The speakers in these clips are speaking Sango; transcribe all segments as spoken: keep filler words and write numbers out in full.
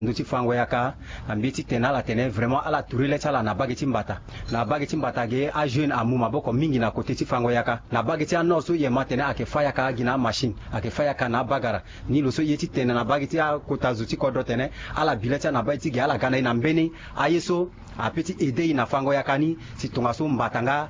ndö ti fango yaka, na mbeti tene ala tene vraiment ala tourner le ti ala na bage ti mbata. Na bage ti mbata ge ajeune amu maboko mingi na côté ti fango yaka. Na bage ti anord so yema tene ayeke fa yaka gi na amachine, ayeke fa yaka na abagara. Ni lo so ye ti tene na bage ti akota zo ti kodro tene ala bi le ti ala na bage ti ge ala ga na e na mbeni aye so ape ti aider e na fango yaka ni. Si tongaso mbata nga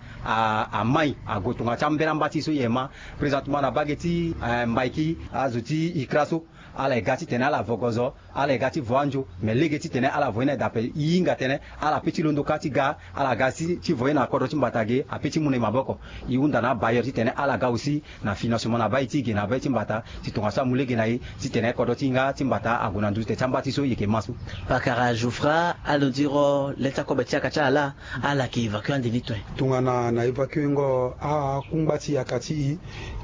amai ague tonga ti ambeni amba ti e so yema. Présentement na bage ti mbaiki azo ti ikra so ala ye ga titene ala vo gozo, ala ye ga ti vo anzo. Mais lege titene ala vo ye na e dape e hinga tene ala pe ti londo ka ti ga, ala ga si ti vo ye na kodro ti mbata ge ape ti mu na e maboko. E hunda na abailleur titene ala ga aussi na financement na bai ti e ge na bai ti mbata si tongaso amu lege na e titene kodro ti hinga ti mbata ague na nduzu te ti amba ti so e yeke ma so. Pakara Jouffra, alo diro le ti akobe ti yaka ti ala laa, ala yeke évacue ande ni tue? Tongana na évacue ngo akungba ti yaka ti e,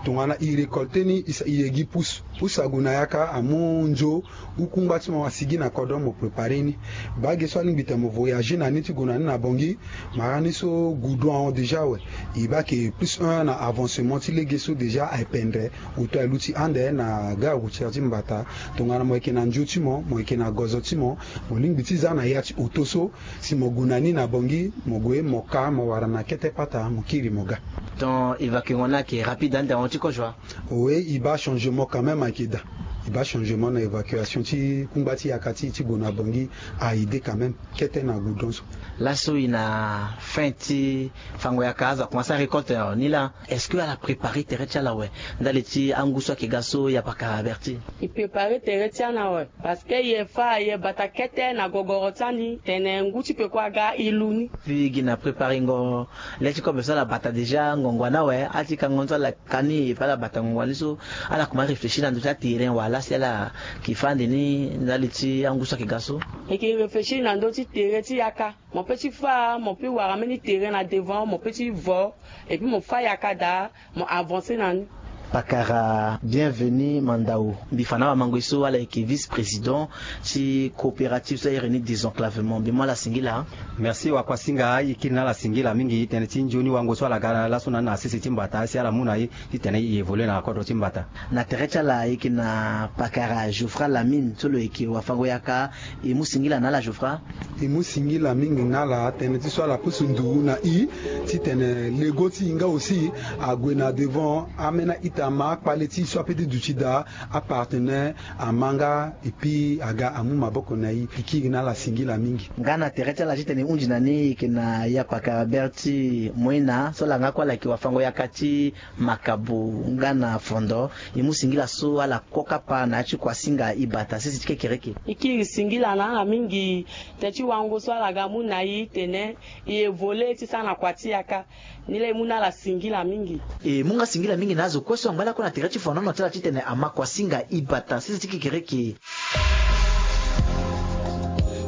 tongana e récolter ni e sa e ye gi pousse. Pousse ague na yaka amu nzo, kungba ti mo asigi na kodro mo préparer ni. Bage so alingbi tene mo voyager na ni ti gue na ni na Bangui, mara ni so goudron ahon déjà awe. E baa ke plus un na avancement ti lege so déjà aye pendre. Auto aye luti ande na gare routière ti mbata. Tongana mo yeke na nzo ti mo, mo yeke na gozo ti mo, mo lingbi ti za na ya ti auto so, si mo gue na ni na Bangui, mo gue mo ka mo wara na kete pata mo kiri mo ga. Donc évacue ngo ni ayeke rapide ande ahon ti kozo wa? Oui, e baa changement quand même ayeke daa. E baa changement na évacuation ti kungba ti yaka ti e ti gue na Bangui a aidé quand même kete na goudron so. Laso e na fin ti fango yaka, azo akomanse arécolte ni laa. Est-ce que ala préparer tere ti ala awe ndali ti angu so ayeke ga so, ya Pakara Berti? E préparer tere ti ala awe. Parce que e fa e bata kete na gogoro ti ani tene ngu ti peko aga e lu ni. Puis gi na préparer ngo le ti kobe so ala bata déjà ngongo ni awe, ati kango ni so ala ka ni, e fa ala bata ngongo ni so, ala kuma réfléchir na ndö ti aterrain wala si ala yeke fa ande ni ndali ti angu so ayeke ga so? E yeke réfléchir na ndö ti terrain ti yaka. Mo pe ti fa, mo pe wara mbeni terrain na devant, mo pe ti vo, et puis mo fa yaka daa, mo avancer na ni. Pakara Bienvenu Mandao, mbi fa na awamango ye so ala yeke vice-président ti coopérative so a iri ni Désenclavement. Mbi mu ala singila. Merci Wakuasinga, e kiri na ala singila mingi tënë ti nzoni wango so ala ga laso na ni na sese ti mbata si ala mu na e titene e évoluer na kodro ti mbata. Na tere ti ala e yeke na Pakara Jouffra Lamine so lo yeke wafango yaka. E mu singila na ala Jouffra. E mu singila mingi na ala tënë ti so ala pusu nduru na e titene lego ti e nga aussi ague na devant, ambeni a-ita ma akpale ti e so ape ti duti daa, apartenaire ama nga, et puis aga amu maboko na e. E kiri na ala singila mingi. Nga na tere ti ala titene e hunzi na ni, e yeke na ya Pakara Berti Moina so langa kue ala yeke wafango yaka ti Makabo nga na Fondo. E mu singila so ala ko kapa na ya ti Kuasinga e bata sese ti kekereke. E kiri singila na ala mingi tënë ti wango so ala ga mu na e tene e évoluer ti sara na kua ti yaka. Ni laa e mu na ala singila mingi. E mu nga singila mingi na azo kue so angba lakue na tere ti fonono ti ala titene ama Kuasinga e bata sese ti kekereke.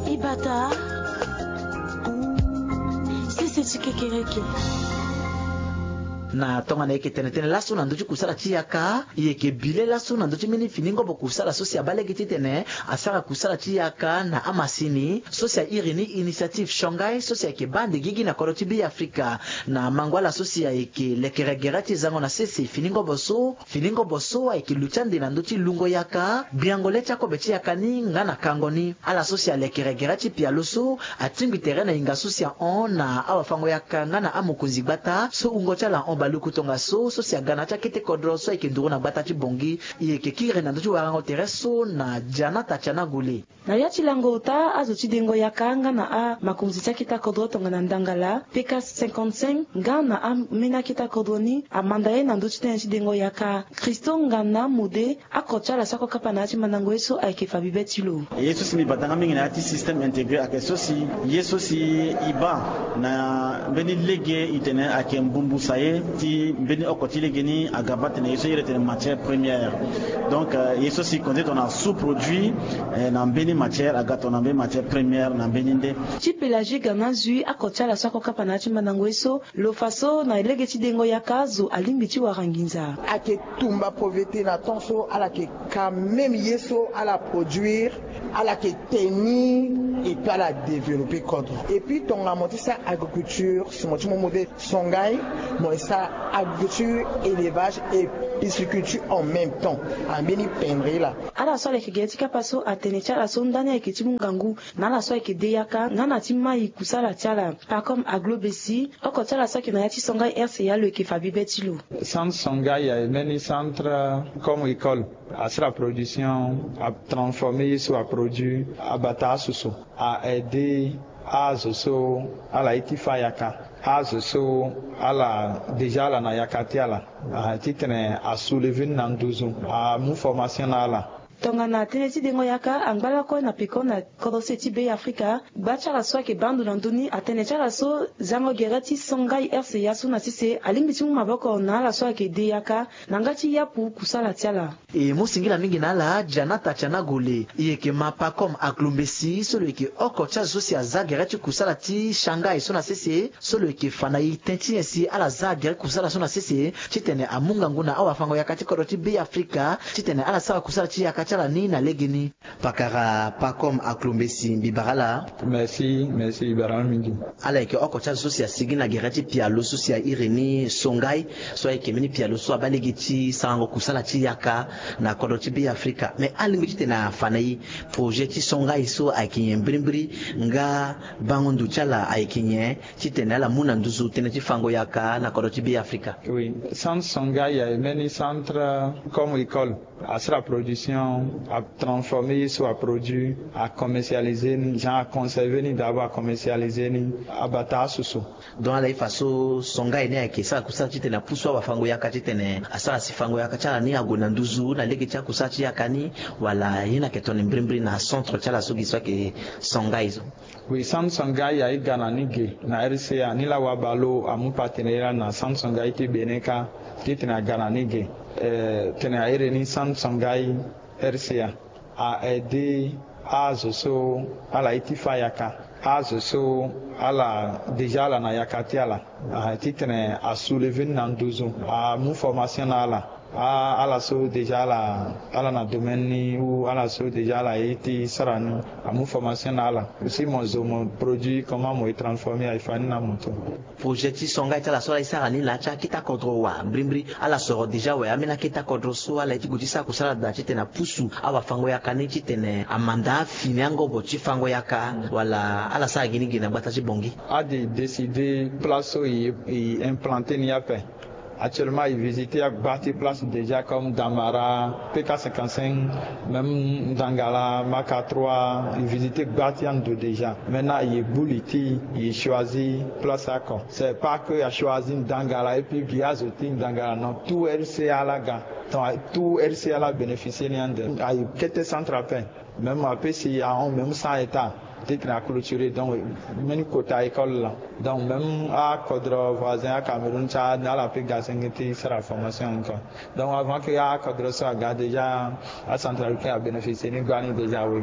E bata sese ti kekereke. Na tongana e yeke tene tënë laso na ndö ti kusala ti yaka, e yeke bi le laso na ndö ti mbeni fini ngobo kusala so si abaa lege titene asara kusala ti yaka na amasini so si a iri ni initiative Shanghai, so si ayeke baa ande gigi na kodro ti Be Afrika. Na mango ala so si ayeke lekere gere ti zango na sese fini ngobo so, fini ngobo so ayeke luti ande na ndö ti lungo yaka, gbiango le ti akobe ti yaka ni nga na kango ni. Ala so si alekere gere ti pialo so atingbi tere na hinga so si ahon na awafango yaka nga na amokonzi gbata so wungo ti ala ahon baluku tongaso, so si aga na ya ti akete kodro so ayeke nduru na gbata ti Bangui. E yeke kiri na ndö ti warango tere so na Janata Tianagule. Na ya ti lango ota azo ti dengo yaka nga na amakonzi ti akete kodro tongana ndangala P K cinquante-cinq nga na ambeni akete kodro ni amanda ye na ndö ti tënë ti dengo yaka. Christo Ngana Mode, oko ti ala so ako kapa na ya ti mandango ye so ayeke fa bibe ti lo. Ye so si mbi bata nga mingi na ya ti système intégré ayeke so si ye so si e baa na mbeni lege e tene ayeke mbumbu saye ti mbeni oko ti lege ni aga baa tene ye so e iri tene matière première. Donc ye so si konze tongana sous-produit na mbeni matière aga tongana mbeni matière première na mbeni nde. Ti Pélagie Gana Zui, oko ti ala so ako kapa na ya ti mandango ye so, lo fa so na lege ti dengo yaka azo alingbi ti wara nginza. Ayeke tumba pauvreté na temps so ala yeke quand même ye so ala produire Ala yeke tenir et puis ala développer kodro. Et puis tongana mo ti sara agriculture, si mo ti mu mo de Songhai, mo sara agriculture, élevage et pisciculture en même temps. Ambeni pendere la. Ala so ala yeke gere ti kapa so atene ti ala so ndani ayeke ti mu ngangu na ala so ayeke de yaka nga na ti mai kusala ti ala. Pacom Aglo Bessi, oko ti ala so ayeke na ya ti Songhai R C A lo yeke fa bibe ti lo. Centre Songhai aye mbeni centre comme école. Asara production, atransformer ye so aproduit, abata asoso, a-aider azo so ala ye ti fa yaka, azo so ala déjà ala na yaka ti ala, ah, titene asoulever ni na nduzu, amu formation na ala. Tongana tënë ti dengo yaka angba lakue na peko na kodro se ti Be Afrika, gba ti ala so ayeke baa ndo na ndö ni atene ti ala so zango gere ti Songhai R C A so na sese alingbi ti mu maboko na ala so ayeke de yaka na nga ti yapu kusala ti ala. E mu singila mingi na ala Janata Tianagole, e yeke ma Pacom Aglo Mbesi so lo yeke oko ti azo so si aza gere ti kusala ti Songhai so na sese, so lo yeke fa na e ten ti nyen si ala za gere kusala so na sese titene amu ngangu na awafango yaka ti kodro ti Be Afrika titene ala sara kusala ti yaka ti ala ni na legeni. Pakara Pacom Aglo Mbesi, mbi bara ala. Merci, merci, mbi bara ala mingi. Ala yeke oko ti azo so si asigi na gere ti pialo so si a iri ni Songhai, so ayeke mbeni pialo so abaa lege ti sarango kusala ti yaka na kodro ti Be Afrika. Me alingbi titene afa na e projet ti Songhai so ayeke nyen mbirimbiri, nga bango ndo ti ala ayeke nyen titene ala mu na nduzu tënë ti fango yaka na kodro ti Be Afrika. Oui, centre Songhai aye mbeni centre comme école. Asara production, atransformer ye so aproduit, acommercialiser ni, genre aconserver ni d'abord, acommercialiser ni, abata asoso. Donc ala ye fa so Songhai ni ayeke sara kusala titene apusu awafango yaka titene asara si fango yaka ti ala ni ague na nduzu na lege ti akusala ti yaka ni, wala ye ni ayeke tongana mbirimbiri na centre ti ala so gi so ayeke Songhai so? Oui, centre Songhai aye ga na ni ge na R C A, ni laa wabalo amu partenariat na centre Songhai ti Bénin kâ titene aga na ni ge. Eh, tene a iri ni centre Songhai R C A a-aider azo so ala ye ti fa yaka, azo so ala déjà ala na yaka ti ala, ah, titene asoulever ni na nduzu, amu formation na ala. Ah, ala so déjà ala, ala na domaine ni, ou ala so déjà ala ye ti sara ni, amu formation na ala. Si mo zo mo produit, comment mo ye transformer, aye fa ni na moto. Projet ti Songhai ti ala so ala ye sara ni na ya ti akete akodro wa mbirimbiri, ala soro déjà awe ambeni akete akodro so ala ye ti gue ti sara kusala daa titene apusu awafango yaka ni titene amanda afini angobo ti fango yaka, wala ala sara gi ni gi na gbata ti Bangui? Ade décider place so e, e implanter ni ape. Actuellement e visiter agba ti place déjà comme Damara, P K cinquante-cinq, même Ndangala, Maka trois, e visiter gba ti ando déjà. Maintenant e gbu li ti e choisir place oko. C'est pas que a choisir Ndangala et puis gi azo ti Ndangala, non, tout R C A la ga. Donc tout R C A la bénéficier ni ande. Aye kete centre ape. Même ape si ahon même cent hectares titene aclôturer, donc mbeni kota école la. Donc même akodro voisin aCameroun ti ala, ala pe ga senge ti sara formation encore. Donc avant que akodro so aga déjà, acentrafricain abénéficier ni gbani déjà, oui.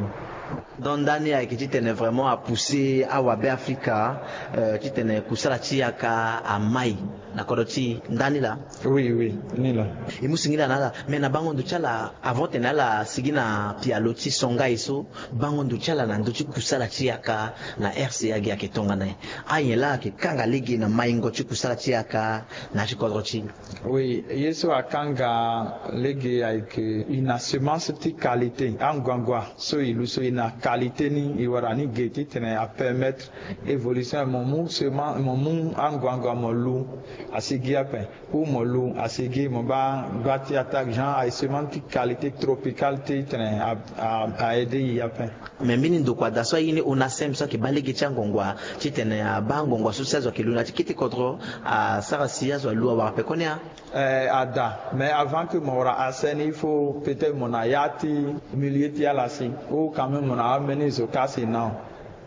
Donc ndani ayeke titene vraiment apousser awabe Afrika, euh, titene kusala ti yaka amai na kodro ti ndani laa. Oui, oui, ni laa. E mu singila na ala, mais na bango ndo ti ala, avant tene ala sigi na pialo ti Songhai so, bango ndo ti ala na ndö ti kusala ti yaka na R C A gi ayeke tongana nyen? Anyen laa ayeke kanga lege na maingo ti kusala ti yaka na ya ti kodro ti e? Oui, ye so akanga lege ayeke e na semence ti qualité, anguangua so e lu so e na qualité ni, e wara ni ge titene apermettre évolution. Mo mu semence, mo mu anguangua mo lu, asigi ape. Ou mo lu, asigi, mo baa gba ti attaque, genre aye semence ti qualité tropicale titene a, a, a aider e ape. Mais mbeni ndokua daa so aye ni ONACEM so ayeke baa lege ti anguangua titene abaa anguangua so si azo ayeke lu na ya ti kete kodro, asara si azo alu awara pekoni a? Eh, ada, mais avant que mo wara accès ni, il faut peut-être mo na ya ti milieu ti ala si, ou quand même mo na ambeni zo kâ si, non.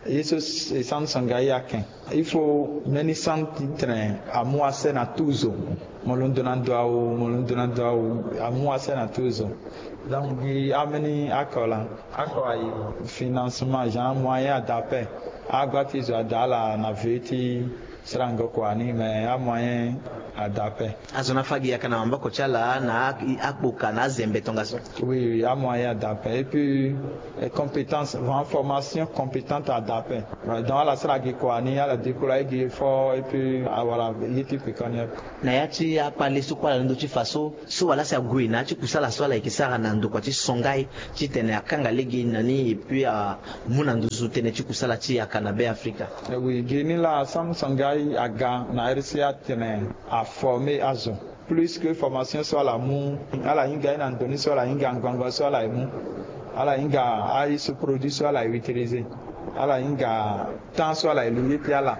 Ye so e centre Songhai ayeke. Il faut mbeni centre titene amu accès na tout zo. Mo londo na ndo awe, mo londo na ndo awe, amu accès na tout zo. Donc gi ambeni oko laa, oko aye financement, genre moyen ada ape. Agba ti zo ada ala na veu ti sarango kua ni, mais amoyen Adape. Azo ni afa gi yaka na maboko ti ala na a- akpoka na azembe tongaso. Oui, oui, amoyen adape. Et puis, eh, compétence, vraiment formation compétente adape. Donc ala sara gi kua ni, ala décourager gi effort, et puis awara ye ti pekoni. Na ya ti akpale so kue ala na ndö ti fa so, so wala si ague na ya ti kusala so ala yeke sara na ndokua ti Songhai titene akanga lege na ni et puis amu na nduzu tënë ti kusala ti yaka na Be Afrika. Eh oui, gi ni laa Sam Songhai aga na R C A titene aformer azo. Plus que formation so ala mu, ala hinga ye na ndo ni so ala hinga ngbangba so ala ye mu. Ala hinga aye so produit so ala ye utiliser. Ala hinga temps so ala ye lu ye ti ala.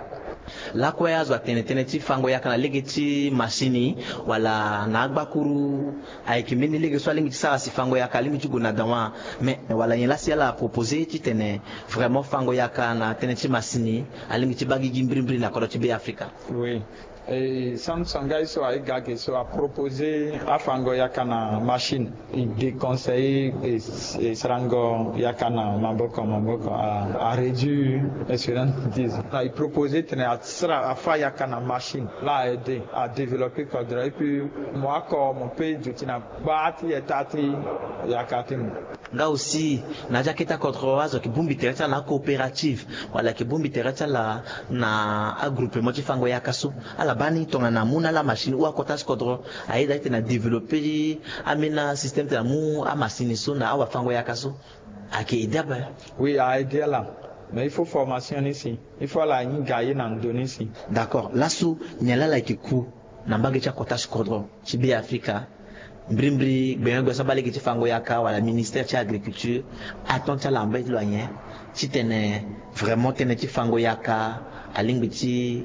Lakue azo atene tënë ti fango yaka na lege ti masini wala na agbakuru ayeke mbeni lege so alingbi ti sara si fango yaka alingbi ti gue na dawa. Mais wala nyen laa si ala proposer titene vraiment fango yaka na tënë ti masini alingbi ti baa gigi mbirimbiri na kodro ti Be Afrika? Oui. E Sam Songhai so aye ga ge so aproposer afango yaka na machine. E déconseiller e, e sarango yaka na maboko maboko, a, a réduire expérience bêtise. E proposer titene asara afa yaka na machine. Laa a aider a développer kodro et puis mo oko mo peut duti na gbaa ti eta ti yaka ti mo. Nga aussi na ya ti akete akodro azo ayeke bongbi tere ti ala na acoopérative wala ayeke bongbi tere ti ala na agroupement ti fango yaka so. Ala baa ni tongana amu na ala machine ou akota ti kodro aye daa titene adévelopper ambeni asystème titene amu amasini so na awafango yaka so. Ayeke aider ape. Oui, a aider ala. Mais il faut formation ni si. Il faut ala hinga ye na ndo ni si. D'accord. Laso nyen laa ala yeke ku na mbage ti akota ti kodro ti Be Afrika? Mbirimbiri gbenyo gbe so abaa lege ti fango yaka wala ministère ti agriculture, aton ti ala na mbage ti lo anyen titene vraiment tënë ti fango yaka alingbi ti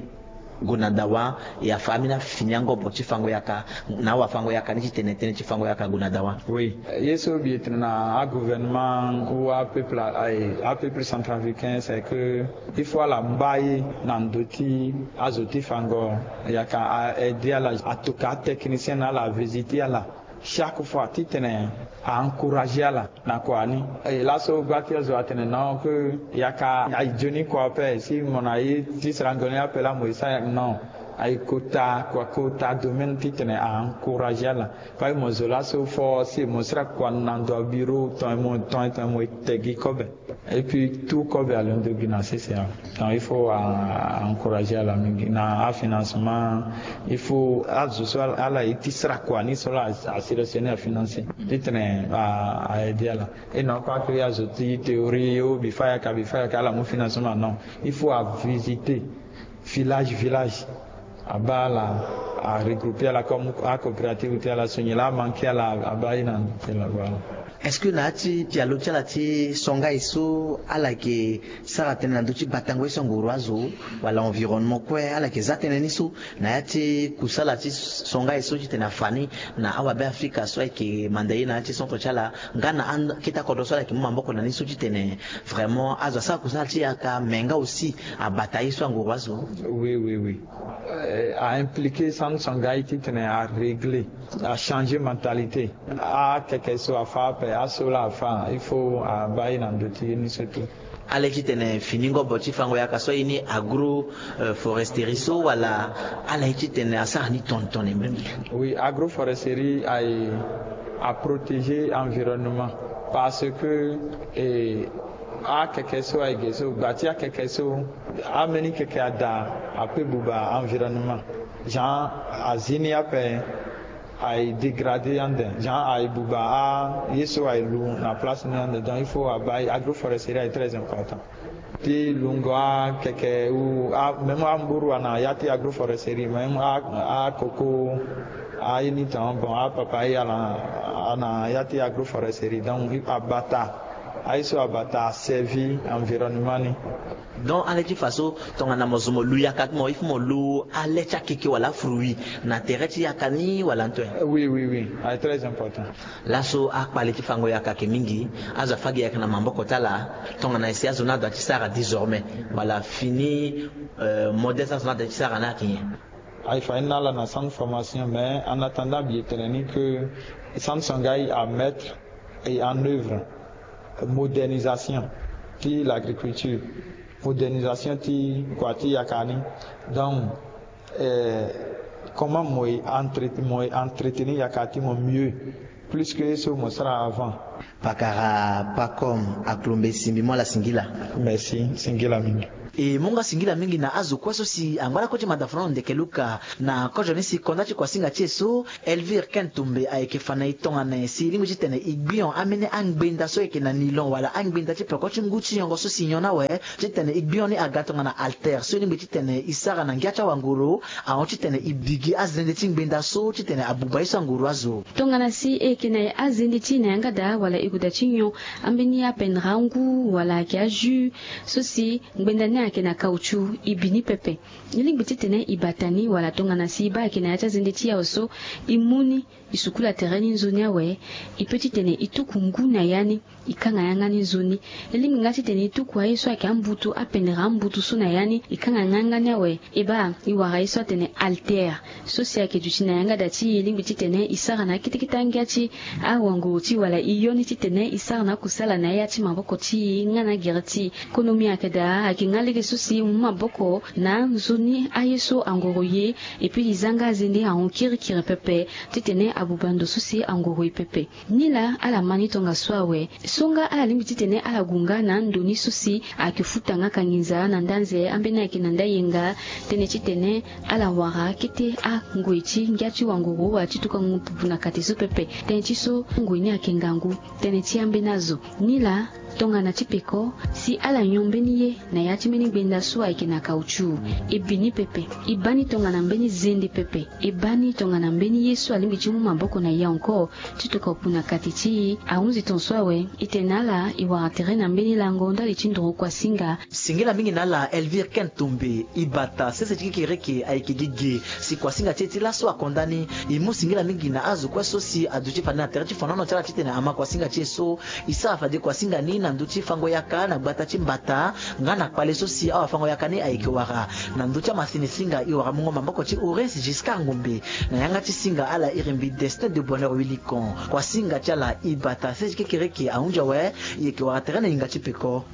gue na dawa, e afa ambeni afini angobo ti fango yaka na awafango yaka ni titene tënë ti fango yaka ague na dawa? Oui. Ye so mbi tene na agouvernement ou apeuple, aye apeuple centrafricain, c'est que il faut ala mba ye na ndo ti azo ti fango yaka, a aider ala, atoka atechnicien na ala, avisiter ala chaque fois titene a encourager ala na kua ni. E laso gba ti azo atene non, que yaka aye nzoni kua ape, si mo na ye ti sarango ni ape laa mo ye sara yaka, non. Aye kota kua, kota domaine titene a encourager ala. Fade mo zo laso fo si mo sara kua na ndo abureau, ton e mo, ton e, ton e mo e te gi kobe. Et puis tout kobe alondo gi na sese awe. Donc il faut a, a encourager ala mingi na afinancement. Il faut azo so ala, ala ye ti sara kua ni so laa a, a sélectionner, afinancer titene a, a aider ala. Et non pas que azo ti théorie, oh, mbi fa yaka, mbi fa yaka, ala mu financement, non. Il faut avisiter village village, abaa ala, aregrouper ala comme acoopérative ti ala, so nyen laa amanquer ala, abaa ye na ndo ti ala, voilà. Est-ce que na ya ti pialo ti ala ti Songhai so ala yeke sara tënë na ndö ti batango ye so anguru azo wala environnement kue, ala yeke za tënë ni so na ya ti kusala ti Songhai so titene afa ni na awabe Afrika so ayeke manda ye na ya ti centre ti ala, nga na akete akodro so ala yeke mu maboko na ni so titene vraiment azo asara kusala ti yaka, mais nga aussi abata ye so anguru azo? Oui, oui, oui. Euh, a impliquer Sam Songhai titene arégler, achanger mentalité. Akeke so afa ape, aso laa afa, il faut abaa ye na ndo ti ye ni so tout. Ala ye titene fini ngobo ti fango yaka so aye ni agro, euh, foresterie so, wala ala ye titene asara ni tongana tongana mbirimbiri? Oui, agroforesterie aye aprotéger environnement, parce que, eh, akeke so aye ge so, gba ti akeke so, ambeni keke ada ape buba environnement. Genre azi ni ape aye dégrader ande, genre aye buba aye so aye lu na place ni ande. Donc il faut abaa ye, agroforesterie aye très important. Ti lungo akeke ou a, même amburu ana ya ti agroforesterie, même a, akoko, aye ni tan, bon, apapaye ana, ana ya ti agroforesterie. Donc abata aye so abata aservi environnement ni. Donc ala ye ti fa so tongana mo zo mo lu yaka ti mo, il faut mo lu ale ti akeke wala afruit na tere ti yaka ni wala nto? Oui, oui, oui, aye très important. Laso akpale ti fango yaka ayeke mingi, azo afa gi yaka na maboko ti ala, tongana nyen si azo ni adoit ti sara désormais, wala fini, euh, modèle so azo ni adoit ti sara ni ayeke nyen? Aye fa ni na ala na centre formation, mais en attendant mbi ye tene ni que Sam Songhai amettre en œuvre modernisation ti l'agriculture, modernisation ti kua ti yaka ni. Donc, eh, Comment mo entretenir yaka ti mo mieux plus que ye so mo sara avant? Pakara pakom aklombe simbi mo ala singila. Merci, singila mingi. E mo nga singila mingi na azo kue so si angba lakue ti mada fana na ndeke luka na kozo ni si konda ti kuasinga ti e so. Elvire ken tombe ayeke fa na e tongana nyen si e lingbi titene e gbion ambeni angbenda so eke na nilon wala angbenda ti peko ti ngu ti nyongo so si nyon na awe titene e gbion ni aga tongana alter so e lingbi titene e sara na ngia ti awangoro. Ahon titene e bigi azende ti ngbenda so titene abuba ye so angoro azo. Tongana si e yeke na e azende ti e na yanga daa wala e gue daa ti nyon ambeni apendere angu wala ayeke ajus so si ngbenda ni ayeke na kauchu, e bi ni pepe. E lingbi titene e bata ni wala tongana si e baa ayeke na ya ti azende ti e awe so, e mu ni, e sukula tere ni nzoni awe. E pe titene e tuku ngu na ya ni, e kanga yanga ni nzoni. E lingbi nga titene e tuku aye so ayeke ambutu, apendere ambutu so na ya ni, e kanga yanga ni awe. E baa e wara ye so atene alter so si ayeke duti na yanga daa ti e, e lingbi titene e sara na akete kete angia ti awangoro ti e wala e yo ni titene e sara na akusala na ya ti maboko ti e nga na agere ti e. Kono mbi ayeke daa ayeke nga lege so si e mu maboko na nzoni aye so angoro e ye. E pe e za nga azende ahon kirikiri pepe titene abuba ndo so si angoro e pepe. Ni laa ala ma ni tongaso awe. So nga ala lingbi titene ala gue nga na ando ni so si ayeke futa nga kanginza na nda anze ambeni ayeke na nda yenga, tënë titene ala wara kete angoi ti ngia ti wangoro wala ti tuka ngu pupu na kate so pepe. Tënë ti so ngoi ni ayeke ngangu. Tënë ti ambeni azo ni laa tongana ti peko si ala nyon mbeni ye na ya ti mbeni gbenda so ayeke na kauchu, e bi ni pepe. E baa ni tongana mbeni zende pepe. E baa ni tongana mbeni ye so alingbi ti mu maboko na e encore ti tuka opu na kate ti e. Ahunzi ton so awe. E tene na ala e wara tere na mbeni lango ndali ti nduru kuasinga. Singila mingi na ala Elvire ken tombe. E bata sese ti kekereke ayeke gi ge si kuasinga ti e ti laso akonda ni. E mu singila mingi na azo kue so si aduti fade na tere ti fonono ti ala titene ama kuasinga ti e so. E sara fade kuasinga ni na ndö ti fango yaka na gbata ti mbata nga na kpale so si awafango yaka ni ayeke wara. Na ndö ti amasini singa e wara mungo maboko ti Horace Giscard Ngombe. Na yanga ti singa ala iri mbi Destin de Bonheur Wilikon. Kuasinga ti ala e bata sese ti kekereke ahunzi awe. E yeke wara tere na hinga ti peko.